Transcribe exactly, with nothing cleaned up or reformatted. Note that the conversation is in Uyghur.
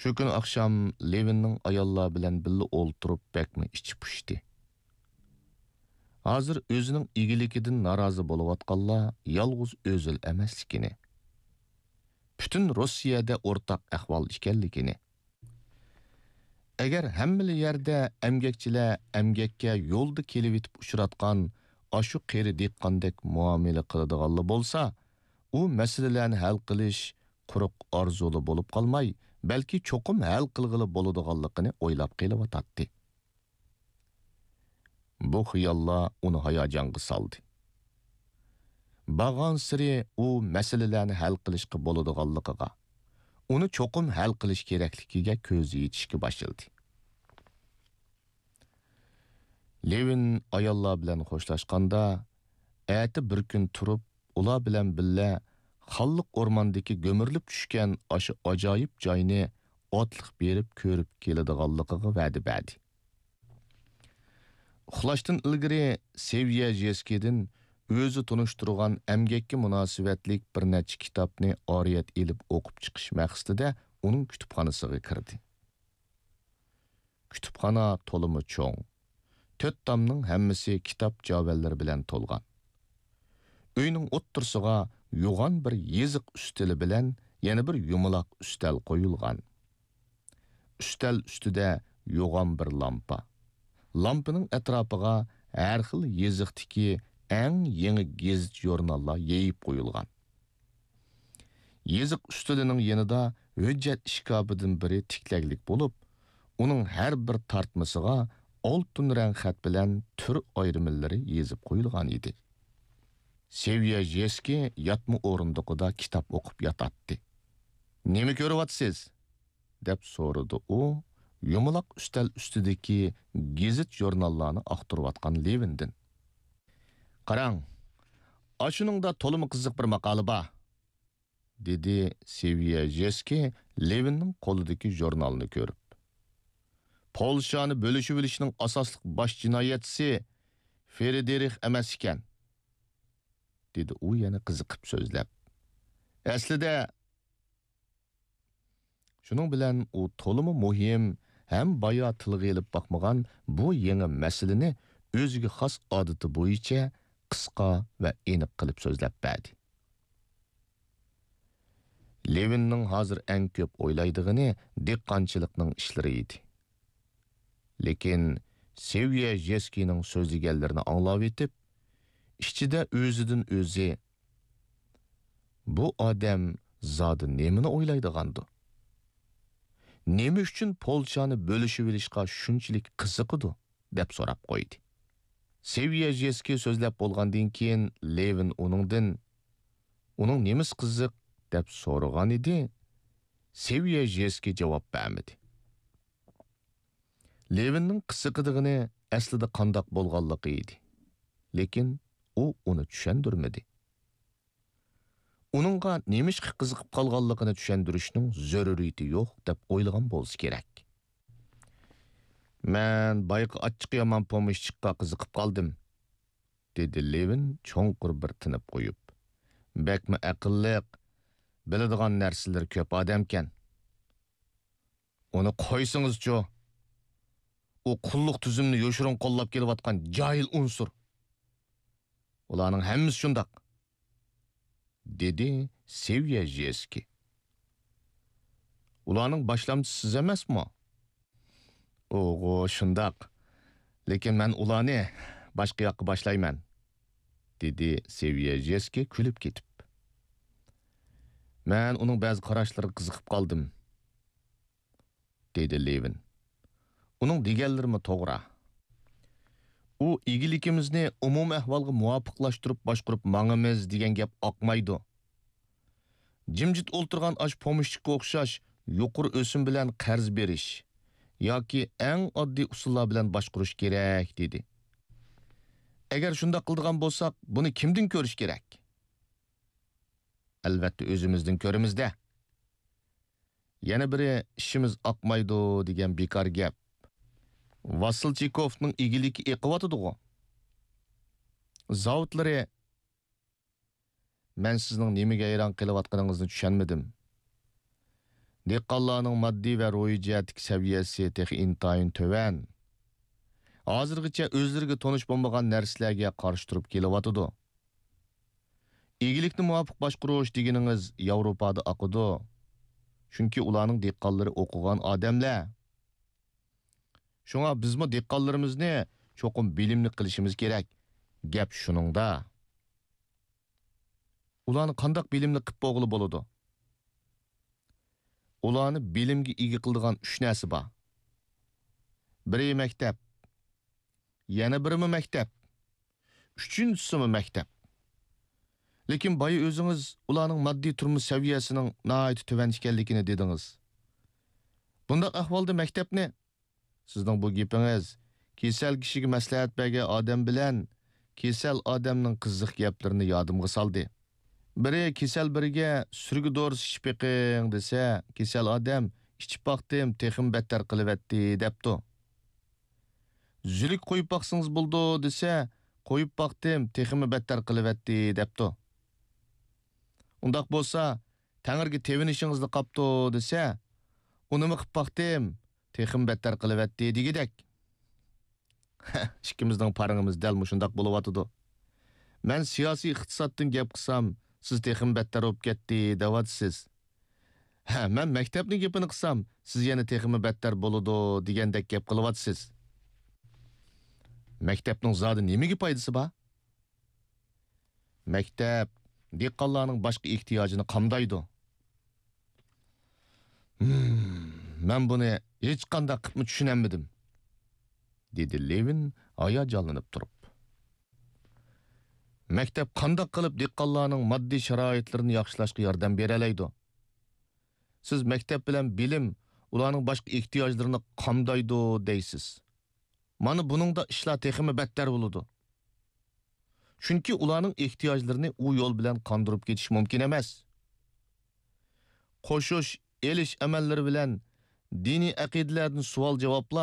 شۇ كۈنى ئاخشام لېۋىننىڭ ئاياللار بىلەن بىللە ئولتۇرۇپ بەكمۇ ئىچى پۇشتى. ھازىر ئۆزىنىڭ ئىگىلىكىدىن نارازى بولۇۋاتقانلار يالغۇز ئۆزىلا ئەمەسلىكىنى، پۈتۈن روسىيەدە ئورتاق ئەھۋال ئىكەنلىكىنى، ئەگەر ھەممىلا يەردە ئەمگەكچىلەر ئەمگەككە يولدا كېلىۋېتىپ ئۇچراتقان ئاشۇ قېرى دېھقاندەك مۇئامىلە قىلىدىغانلا بولسا، ئۇ مەسىلىلەرنى ھەل قىلىش قۇرۇق ئارزۇلا بولۇپ قالماي، بەلكى چوقۇم ھەل قىلغىلى بولىدىغانلىقىنى ئويلاپ قېلىۋاتاتتى. بۇ خىياللار ئۇنى ھاياجانغا سالدى. بارغانسېرى ئۇ مەسىلىلەرنى ھەل قىلىشقا بولىدىغانلىقىغا، ئۇنى چوقۇم ھەل قىلىش كېرەكلىكىگە كۆزى يېتىشكە باشلىدى. لېۋىن ئاياللار بىلەن خوشلاشقاندا، ئەتە بىر كۈن تۇرۇپ، ئۇلار بىلەن بىللە خانلىق ئورماندىكى گۈمۈرۈلۈپ چۈشكەن ئاشۇ ئاجايىپ جاينى ئاتلىق بېرىپ كۆرۈپ كېلىدىغانلىقىغا ۋەدە بەردى. ئۇخلاشتىن ئىلگىرى سېۋيەژېسكىدىن ئۆزى تونۇشتۇرغان ئەمگەككە مۇناسىۋەتلىك بىر نەچچە كىتابنى ئارىيەت ئېلىپ ئوقۇپ چىقىش مەقسىتىدە ئۇنىڭ كۇتۇپخانىسىغا كىردى. كۇتۇپخانا تولىمۇ چوڭ، تۆت تامنىڭ ھەممىسى كىتاب جاۋەنلىرى بىلەن تولغان. ئۆينىڭ ئوتتۇرىسىغا يوغان بىر يېزىق ئۈستىلى بىلەن يەنە بىر يۇمىلاق ئۈستەل قويۇلغان. ئۈستەل ئۈستىدە يوغان بىر لامپا. لامپىنىڭ ئەتراپىغا ھەر خىل يېزىقتىكى ئەڭ يېڭى گېزىت-ژۇرناللار يېيىپ قويۇلغان. يېزىق ئۈستىلىنىڭ يېنىدا ھۆججەت ئىشكاپىدىن بىرى تىكلەكلىك بولۇپ، ئۇنىڭ ھەر بىر تارتمىسىغا ئالتۇن رەڭ خەت بىلەن تۈر ئايرىملىرى يېزىپ قويۇلغان ئىدى. سېۋيەژېسكىي ياتما ئورۇندۇقىدا كىتاب ئوقۇپ ياتاتتى. «نېمە كۆرۈۋاتىسىز؟» دەپ سورىدى ئۇ يۇمىلاق ئۈستەل ئۈستىدىكى گېزىت-ژۇرناللارنى ئاختۇرۇۋاتقان لېۋىندىن. «قاراڭ، ئاشۇنىڭدا تولىمۇ قىزىق بىر ماقالە بار»، دېدى سېۋيەژېسكىي لېۋىننىڭ قولىدىكى ژۇرنالنى كۆرۈپ. «پولشانى بۆلۈشۈۋېلىشنىڭ ئاساسلىق باش جىنايەتچىسى فرېدېرىخ ئەمەس ئىكەن»، دېدى ئۇ يەنە قىزىقىپ سۆزلەپ. «ئەسلىدە...» شۇنىڭ بىلەن ئۇ تولىمۇ مۇھىم ھەم بايا تىلغا ئېلىپ باقمىغان بۇ يېڭى مەسىلىنى ئۆزىگە خاس ئادىتى بويىچە قىسقا ۋە ئېنىق قىلىپ سۆزلەپ بەردى. لېۋىننىڭ ھازىر ئەڭ كۆپ ئويلايدىغىنى دېھقانچىلىقنىڭ ئىشلىرى ئىدى. لېكىن سېۋيەژېسكىينىڭ سۆزلىگەنلىرىنى ئاڭلاۋېتىپ، ئىچىدە ئۆزىدىن ئۆزى، «بۇ ئادەم زادى نېمىنى ئويلايدىغاندۇ؟ نېمە ئۈچۈن پولچانى بۆلۈشۈۋېلىشقا شۇنچىلىك قىزىقىدۇ؟» دەپ سوراپ قويدى. سېۋيەژېسكىي سۆزلەپ بولغاندىن كېيىن، لېۋىن ئۇنىڭدىن، «ئۇنىڭ نېمىسى قىزىق؟» دەپ سورىغانىدى. سېۋيەژېسكىي جاۋاب بەرمىدى. لېۋىننىڭ قىزىقىدىغىنى ئەسلىدە قانداق بولغانلىقى ئىدى. لېكىن ئۇ ئۇنى چۈشەندۈرمىدى. ئۇنىڭغا نېمىشقا قىزىقىپ قالغانلىقىنى چۈشەندۈرۈشنىڭ زۆرۈرىيىتى يوق دەپ ئويلىغان بولسا كېرەك. «مەن بايىقى ئاچچىقى يامان پومېشچىكقا قىزىقىپ قالدىم»، دېدى لېۋىن چوڭقۇر بىر تىنىپ قويۇپ. «بەكمۇ ئەقىللىق، بىلىدىغان نەرسىلىرى كۆپ ئادەمكەن.» «ئۇنى قويسىڭىزچۇ! ئۇ قۇللۇق تۈزۈمنى يوشۇرۇن قوللاپ كېلىۋاتقان جاھىل ئۇنسۇر. ئۇلارنىڭ ھەممىسى شۇنداق»، دېدى سېۋيەژېسكىي. «ئۇلارنىڭ باشلامچىسى سىز ئەمەسمۇ؟» «ئوغۇ، شۇنداق. لېكىن مەن ئۇلارنى باشقا ياققا باشلايمەن»، دېدى سېۋيەژېسكىي كۈلۈپ كېتىپ. «مەن ئۇنىڭ بەزى قاراشلىرىغا قىزىقىپ قالدىم»، دېدى لېۋىن. «ئۇنىڭ دېگەنلىرىمۇ توغرا. ئۇ ئىگىلىكىمىزنى ئومۇمىي ئەھۋالغا مۇۋاپىقلاشتۇرۇپ باشقۇرۇپ ماڭىمىز دېگەن گەپ ئاقمايدۇ. جىمجىت ئولتۇرغان ئاشۇ پومېشچىككە ئوخشاش يۇقىرى ئۆسۈم بىلەن قەرز بېرىش ياكى ئەڭ ئاددىي ئۇسۇللار بىلەن باشقۇرۇش كېرەك» دېدى. «ئەگەر شۇنداق قىلىدىغان بولساق، بۇنى كىمدىن كۆرۈش كېرەك؟» «ئەلۋەتتە، ئۆزىمىزدىن كۆرىمىز-دە. يەنە بىرى، ئىشىمىز ئاقمايدۇ دېگەن بىكار گەپ. ۋاسىلچىكوفنىڭ ئىگىلىكى ئېقىۋاتىدىغۇ؟ زاۋۇتلىرى...» «مەن سىزنىڭ نېمىگە ھەيران قېلىۋاتقىنىڭىزنى چۈشەنمىدىم. دېھقانلارنىڭ ماددىي ۋە روھىي جەھەتتىكى سەۋىيەسى تېخى ئىنتايىن تۆۋەن. ھازىرغىچە ئۆزلىرىگە تونۇش بولمىغان نەرسىلەرگە قارشى تۇرۇپ كېلىۋاتىدۇ. ئىگىلىكنى مۇۋاپىق باشقۇرۇش دېگىنىڭىز ياۋروپادا ئاقىدۇ. چۈنكى ئۇلارنىڭ دېھقانلىرى ئوقۇغان ئادەملەر. شۇڭا بىزمۇ دېھقانلىرىمىزنى چوقۇم بىلىملىك قىلىشىمىز كېرەك. گەپ شۇنىڭدا. ئۇلارنى قانداق بىلىملىك قىلىپ بولغىلى بولىدۇ؟ ئۇلارنى بىلىمگە ئىگە قىلىدىغان ئۈچ نەرسە بار. بىرى مەكتەپ، يەنە بىرىمۇ مەكتەپ، ئۈچىنچىسىمۇ مەكتەپ. لېكىن بايا ئۆزىڭىز ئۇلارنىڭ ماددىي تۇرمۇش سەۋىيەسىنىڭ ناھايىتى تۆۋەن ئىكەنلىكىنى دېدىڭىز. بۇنداق ئەھۋالدا مەكتەپنى، سىزنىڭ بۇ گېپىڭىز كېسەل كىشىگە مەسلىھەت بەرگەن ئادەم بىلەن كېسەل ئادەمنىڭ قىزىق گەپلىرىنى يادىمغا سالدى. بىرى كېسەل بىرىگە سۈرگە دورىسى ئىچىپ بېقىڭ دېسە، كېسەل ئادەم ئىچىپ باقتىم، تېخىمۇ بەتتەر قىلىۋەتتى دەپتۇ. زۈلۈك قويۇپ باقسىڭىز بولىدۇ دېسە، قويۇپ باقتىم، تېخىمۇ بەتتەر قىلىۋەتتى دەپتۇ. ئۇنداق بولسا، تەڭرىگە تېۋىنىشىڭىزلا قاپتۇ دېسە، ئۇنىمۇ قىپ باقتىم، تېخىمۇ بەتتەر قىلىۋەتتى دېگۈدەك. ئىككىمىزنىڭ پارىڭىمىز دەل مۇشۇنداق بولۇۋاتىدۇ. مەن سىياسىي ئىقتىسادتىن گەپ قىلسام، سىز تېخىمۇ بەتتەر بولۇپ كەتتى دەۋاتىسىز. ھە، مەن مەكتەپنىڭ گېپىنى قىلسام، سىز يەنە تېخىمۇ بەتتەر بولىدۇ دېگەندەك گەپ قىلىۋاتىسىز. مەكتەپنىڭ زادى نېمىگە پايدىسى بار؟ مەكتەپ دېھقانلارنىڭ باشقا ئېھتىياجىنى قامدايدۇ. ھىم، مەن بۇنى ھېچقانداق قىپمۇ چۈشىنەلمىدىم، دېدى لېۋىن ھاياجانلىنىپ تۇرۇپ. مەكتەپ قانداق قىلىپ دېھقانلارنىڭ ماددىي شارائىتلىرىنى ياخشىلاشقا ياردەم بېرەلەيدۇ؟ سىز مەكتەپ بىلەن بىلىم ئۇلارنىڭ باشقا ئېھتىياجلىرىنى قامدايدۇ دەيسىز. مانا بۇنىڭدا ئىشلار تېخىمۇ بەتتەر بولىدۇ. چۈنكى ئۇلارنىڭ ئېھتىياجلىرىنى ئۇ يول بىلەن قاندۇرۇپ كېتىش مۇمكىن ئەمەس. قوشۇش، ئېلىش ئەمەللىرى بىلەن دىنىي ئەقىدىلەردىن سوئال-جاۋابلار